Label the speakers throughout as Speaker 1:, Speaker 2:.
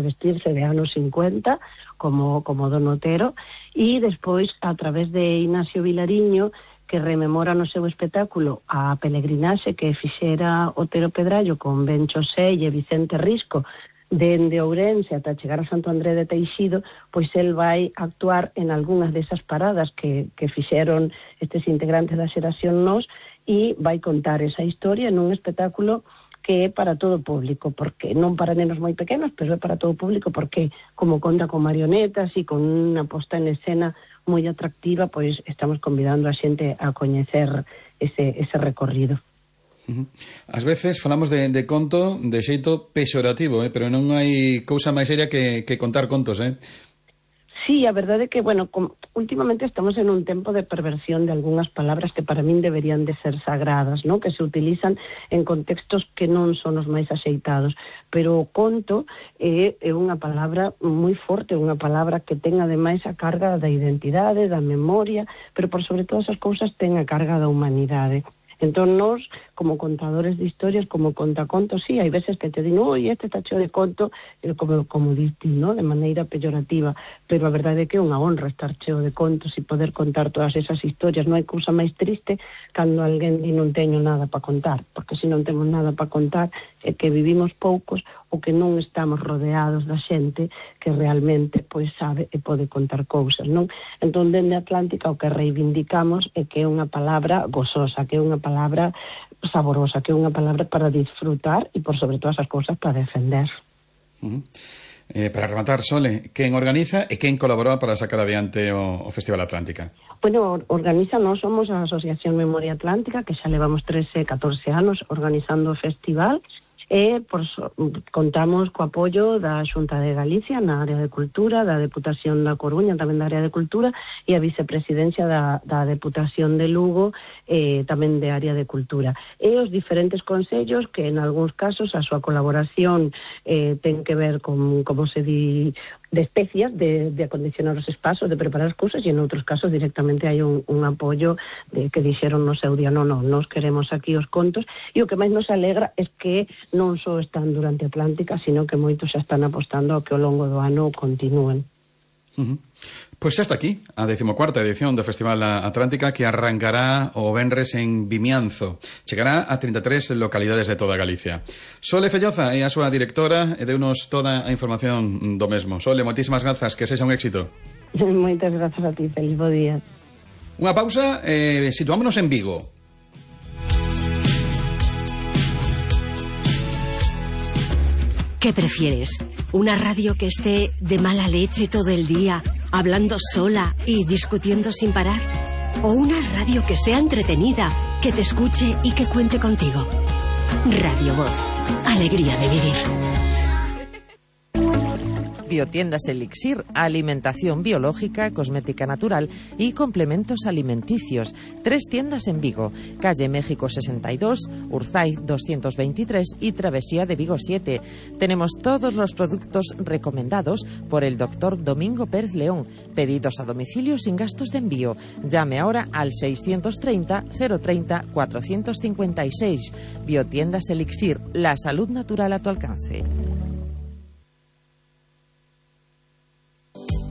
Speaker 1: vestirse de anos 50 como Don Otero, e despois a través de Ignacio Vilariño, que rememora no seu espectáculo a peregrinaxe que fixera Otero Pedrallo con Ben Chosé e Vicente Risco dende Ourense ata chegar a Santo André de Teixido, pois el vai actuar en algunhas desas paradas que fixeron estes integrantes da xeración Nós, e vai contar esa historia nun espectáculo que é para todo o público, porque non para nenos moi pequenos, pero é para todo o público, porque como conta con marionetas e con unha posta en escena moi atractiva, pois estamos convidando a xente a coñecer ese recorrido.
Speaker 2: Ás veces falamos de conto de xeito pexorativo, pero non hai cousa máis seria que contar contos,
Speaker 1: Sí, a verdade é que, últimamente estamos en un tempo de perversión de algunhas palabras que para min deberían de ser sagradas, ¿no? Que se utilizan en contextos que non son os máis axeitados, pero o conto é unha palabra moi forte, unha palabra que ten ademais a carga da identidade, da memoria, pero por sobre todas as cousas ten a carga da humanidade. Entón, nós, como contadores de historias, como contacontos, sí, hai veces que te din, oi, este está cheo de conto, como diste, ¿no?, de maneira peyorativa, pero a verdade é que é unha honra estar cheo de contos e poder contar todas esas historias. Non hai cousa máis triste cando alguén di non teño nada para contar, porque se non temos nada para contar é que vivimos poucos ou que non estamos rodeados da xente que realmente pois sabe e pode contar cousas, non? Entón, dende Atlántica o que reivindicamos é que é unha palabra gozosa, que é unha palabra saborosa, que é unha palabra para disfrutar e, por sobre todas as cousas, para defender.
Speaker 2: Para rematar, Sole, quen organiza e quen colaborou para sacar adiante o Festival Atlántica?
Speaker 1: Organiza, nós somos a Asociación Memoria Atlántica, que xa levamos 13, 14 anos organizando o festival, e contamos co apoio da Xunta de Galicia na área de cultura, da Deputación da Coruña tamén da área de cultura, e a vicepresidencia da Deputación de Lugo tamén de área de cultura, e os diferentes consellos que en algúns casos a súa colaboración ten que ver con, como se di, de especias, de acondicionar os espazos, de preparar as cousas, e en outros casos directamente hai un apoio de que dixeron no seu día, non, nos queremos aquí os contos, e o que máis nos alegra é que non só están durante Atlántica, sino que moitos xa están apostando a que ao longo do ano continúen.
Speaker 2: Pois xa está aquí a 14ª edición do Festival Atlántica, que arrancará o venres en Vimianzo. Chegará a 33 localidades de toda Galicia. Sole Felloza é a súa directora e deunos toda a información do mesmo. Sole, moitísimas grazas, que sexa un éxito.
Speaker 1: Moitas grazas a ti, feliz bo día.
Speaker 2: Unha pausa, situámonos en Vigo.
Speaker 3: ¿Qué prefieres? ¿Una radio que esté de mala leche todo el día, hablando sola y discutiendo sin parar? ¿O una radio que sea entretenida, que te escuche y que cuente contigo? Radio Voz. Alegría de vivir.
Speaker 4: Biotiendas Elixir, alimentación biológica, cosmética natural y complementos alimenticios. 3 tiendas en Vigo, calle México 62, Urzay 223 y Travesía de Vigo 7. Tenemos todos los productos recomendados por el doctor Domingo Pérez León. Pedidos a domicilio sin gastos de envío. Llame ahora al 630 030 456. Biotiendas Elixir, la salud natural a tu alcance.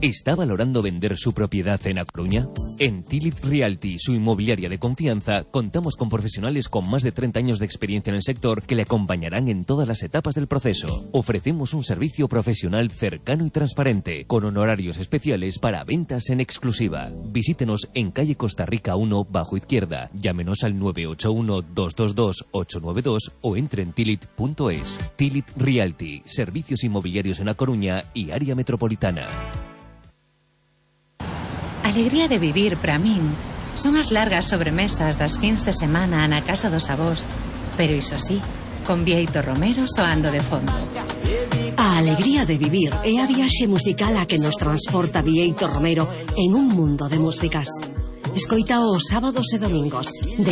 Speaker 5: ¿Está valorando vender su propiedad en A Coruña? En Tilit Realty, su inmobiliaria de confianza, contamos con profesionales con más de 30 años de experiencia en el sector que le acompañarán en todas las etapas del proceso. Ofrecemos un servicio profesional cercano y transparente, con honorarios especiales para ventas en exclusiva. Visítenos en calle Costa Rica 1, bajo izquierda. Llámenos al 981-222-892 o entre en tilit.es. Tilit Realty, servicios inmobiliarios en A Coruña y área metropolitana.
Speaker 6: Alegría de vivir para min son as largas sobremesas das fins de semana na casa dos avós, pero iso sí, con Bieito Romero soando de fondo.
Speaker 3: A alegría de vivir é a viaxe musical a que nos transporta Bieito Romero en un mundo de músicas. Escoita os sábados e domingos de